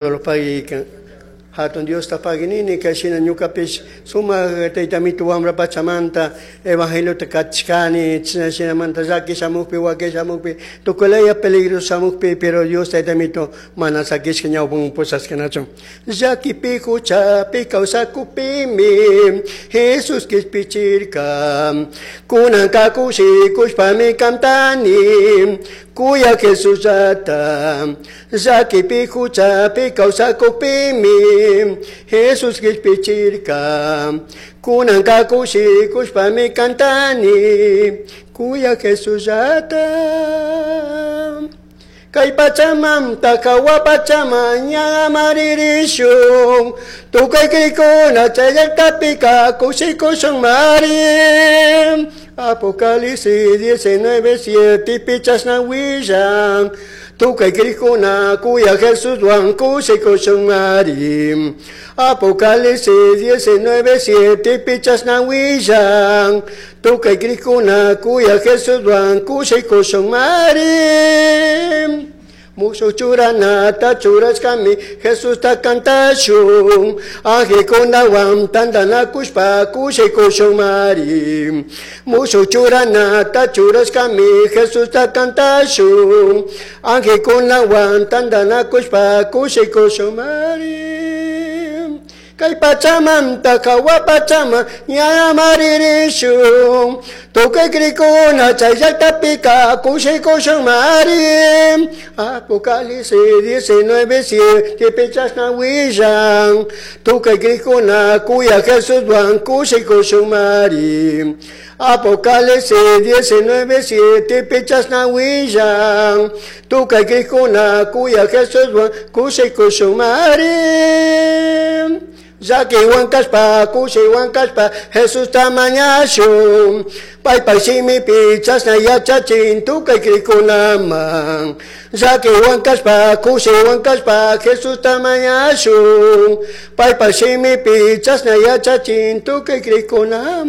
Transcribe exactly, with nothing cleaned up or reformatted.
Pagui Hatun Diosta paginini kay shina ñukapish sumak taytamitu wambra pachamanta evangeliota kachkani china shinamanta llaki shamukpi waki shamukpi tukuylaya peligro shamukpi, pero Dios taytamito mana sakishka ñawpan pushashkanachu. Llakipi huchapi kawsakupimi Jesus kishpichirka, kunanka kushikushpami kantani kuya Jesusllata. Llakipi huchapi kawsakupimi Jesus kishpichirka, kunanka kushikushpami kantani kuya Jesusllata. Kay pachamanta hawa pachaman ña maririshun, tukuy krikuna chay llaktapika kushikushun mari. Apocalipsis diecinueve siete pichashna willan, tukuy krikuna kuya Jesuswan kushikushun mari. Apocalipsis diecinueve siete pichashna willan, tukuy krikuna kuya Jesuswan kushikushun mari. Mushuq churanata churashkami Jesusta kantashun, angelkunawan tantanakushpa kushikushun mari. Mushuq churanata churashkami Jesusta kantashun, angelkunawan tantanakushpa kushikushun mari. Kay pachamanta hawa pachaman ña maririshun, tukuy krikuna chay llaktapika kushikushun mari. Apocalipsis diecinueve siete pichashna willan, tukuy krikuna kuya Jesuswan kushikushun mari. Apocalipsis diecinueve siete pichashna willan, tukuy krikuna kuya Jesuswan kushikushun mari. Llakiwan kashpa kushiwan kashpa Jesusta mañashun, paypay shimipi chashna yachachin tukuy krikunaman. Llakiwan kashpa kushiwan kashpa Jesusta mañashun, paypay shimipi chashna yachachin tukuy krikunaman.